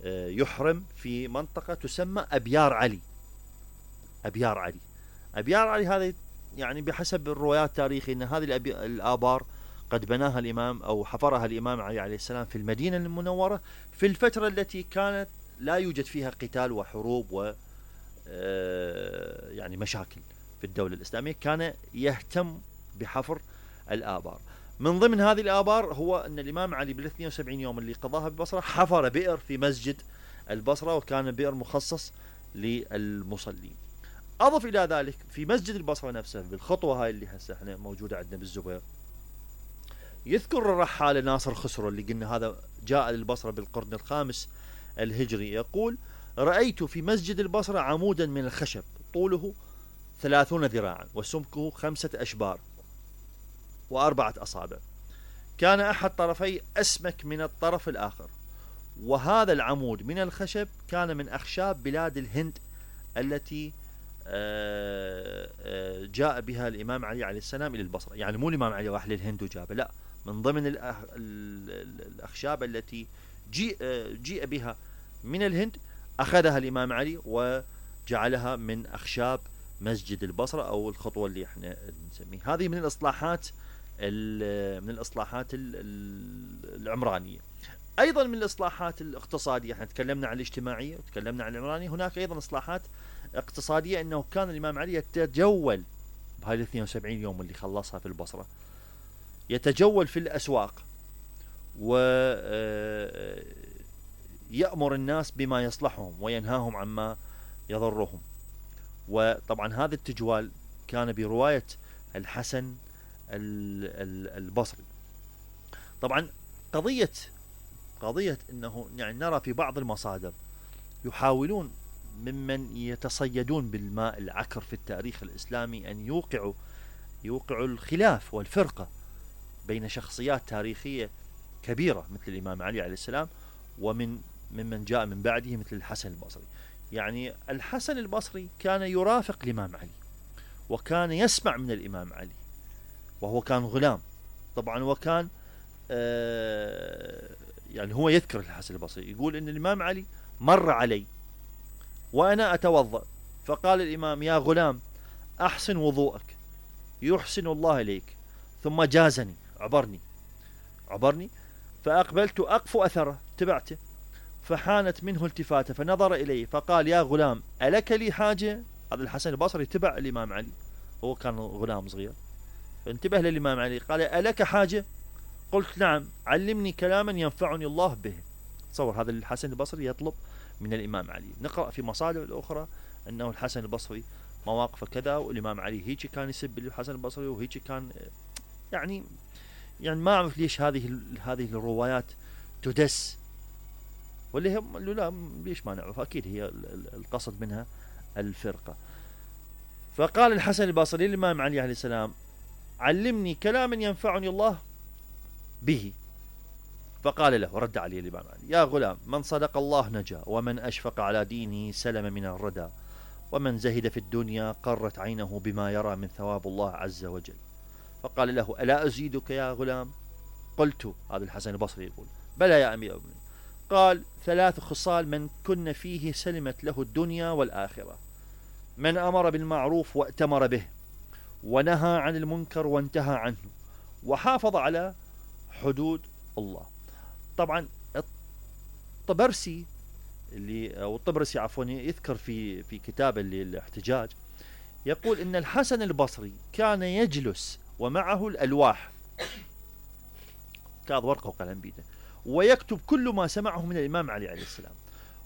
يحرم في منطقة تسمى أبيار علي. أبيار علي، أبيار علي هذه يعني بحسب الروايات التاريخية أن هذه الآبار قد بناها الإمام أو حفرها الإمام علي عليه السلام في المدينة المنورة في الفترة التي كانت لا يوجد فيها قتال وحروب و يعني مشاكل في الدولة الإسلامية. كان يهتم بحفر الآبار. من ضمن هذه الآبار هو أن الإمام علي بال72 يوم اللي قضاها بالبصرة حفر بئر في مسجد البصرة، وكان بئر مخصص للمصلين. أضف إلى ذلك في مسجد البصرة نفسه بالخطوة هاي اللي هسه احنا موجودة عندنا بالزبير، يذكر الرحالة ناصر خسرو اللي قلنا هذا جاء للبصرة بالقرن الخامس الهجري، يقول: رأيت في مسجد البصرة عمودا من الخشب طوله 30 ذراعا وسمكه 5 أشبار و4 أصابع، كان أحد طرفي أسمك من الطرف الآخر، وهذا العمود من الخشب كان من أخشاب بلاد الهند التي جاء بها الإمام علي عليه السلام إلى البصرة. يعني مو الإمام علي راح للهند وجابه، لا، من ضمن الأخشاب التي جيء بها من الهند أخذها الإمام علي وجعلها من أخشاب مسجد البصرة أو الخطوة اللي احنا نسميها. هذه من الإصلاحات العمرانية. أيضا من الإصلاحات الاقتصادية، احنا تكلمنا عن الاجتماعية وتكلمنا عن العمرانية، هناك أيضا إصلاحات اقتصادية، أنه كان الإمام علي يتجول بهاي 72 يوم اللي خلصها في البصرة، يتجول في الأسواق ويأمر الناس بما يصلحهم وينهاهم عما يضرهم. وطبعا هذا التجوال كان برواية الحسن البصري. طبعا قضية أنه يعني نرى في بعض المصادر يحاولون ممن يتصيدون بالماء العكر في التاريخ الإسلامي أن يوقعوا الخلاف والفرقة بين شخصيات تاريخية كبيرة مثل الإمام علي عليه السلام ممن جاء من بعده مثل الحسن البصري. يعني الحسن البصري كان يرافق الإمام علي وكان يسمع من الإمام علي وهو كان غلام طبعا، وكان يعني هو يذكر الحسن البصري يقول إن الإمام علي مر علي وأنا أتوضأ فقال الإمام: يا غلام أحسن وضوءك يحسن الله إليك، ثم جازني عبرني فأقبلت أقف أثره تبعته، فحانت منه التفاته فنظر إلي فقال: يا غلام ألك لي حاجة؟ هذا الحسن البصري تبع الإمام علي، هو كان غلام صغير، فانتبه للإمام علي قال: ألك حاجة؟ قلت: نعم، علمني كلاما ينفعني الله به. تصور هذا الحسن البصري يطلب من الإمام علي. نقرأ في مصادر الأخرى أنه الحسن البصري مواقف كذا، والإمام علي هيك كان يسب الحسن البصري وهيك كان يعني ما أعرف ليش هذه الروايات تدس، واللي هم لا ليش ما نعرف، أكيد هي القصد منها الفرقة. فقال الحسن البصري للإمام علي عليه السلام: علمني كلاما ينفعني الله به. فقال له، رد عليه الإمام علي: يا غلام، من صدق الله نجا، ومن أشفق على دينه سلم من الردى، ومن زهد في الدنيا قرت عينه بما يرى من ثواب الله عز وجل. فقال له: ألا أزيدك يا غلام؟ قلت، هذا الحسن البصري يقول: بلى يا أمير المؤمنين. قال: 3 خصال من كن فيه سلمت له الدنيا والآخرة: من أمر بالمعروف وأتمر به، ونهى عن المنكر وانتهى عنه، وحافظ على حدود الله. طبعا الطبرسي يذكر في كتابه الاحتجاج، يقول إن الحسن البصري كان يجلس ومعه الألواح، كاظ ورقة وقلم بيده، ويكتب كل ما سمعه من الإمام علي عليه السلام.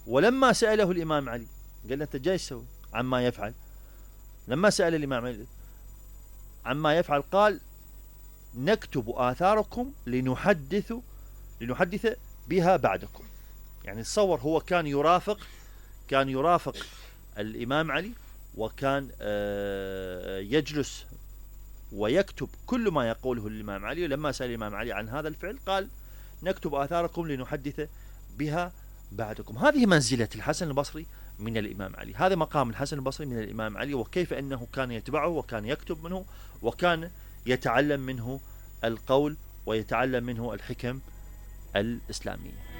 ولما سأله الإمام علي قال له: أنت جاي تسوي عما يفعل؟ لما سأل الإمام علي عما يفعل قال: نكتب آثاركم لنحدث بها بعدكم. يعني تصور هو كان يرافق الإمام علي، وكان يجلس ويكتب كل ما يقوله الإمام علي. ولما سأل الإمام علي عن هذا الفعل قال: نكتب آثاركم لنحدث بها بعدكم. هذه منزلة الحسن البصري من الإمام علي، هذا مقام الحسن البصري من الإمام علي، وكيف أنه كان يتبعه وكان يكتب منه وكان يتعلم منه القول ويتعلم منه الحكم الإسلامية.